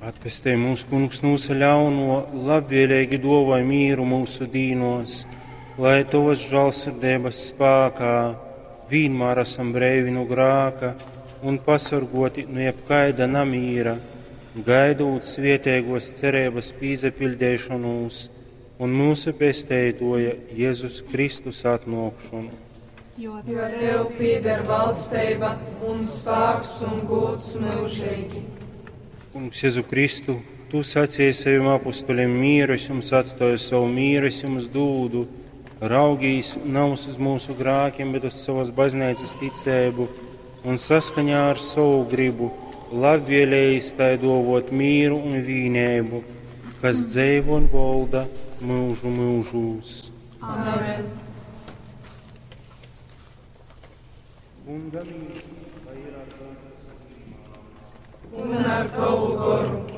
Atpestej mūs, Kungs, nu visa ļauno, labvēlīgi dāvāj mīru mūsu dīnos, lai Tavas žālsirdības spēkā vienmēr esam breivi no grāka un pasargoti no jebkaida namīra, gaidot svietēgos cerības pīzepildēšanos un mūsu pesteitoja Jēzus Kristus atnākšanu. Jo Tev pieder valstība un spēks un gūds mūžīgi. Kungs, Jēzu Kristu, Tu sacīji saviem apustuļiem mieru, es jums atstāju savu mieru, es jums dūdu. Raugīs nav uz mūsu grākiem, bet uz savas baznīcas ticību un saskaņā ar savu gribu labvēlējis tai dovot mīru un vīnēbu, kas dzeivo un volda mūžu mūžūs. Amen. Kunga mīrs, lai ir ar jums. Un ar tavu goru.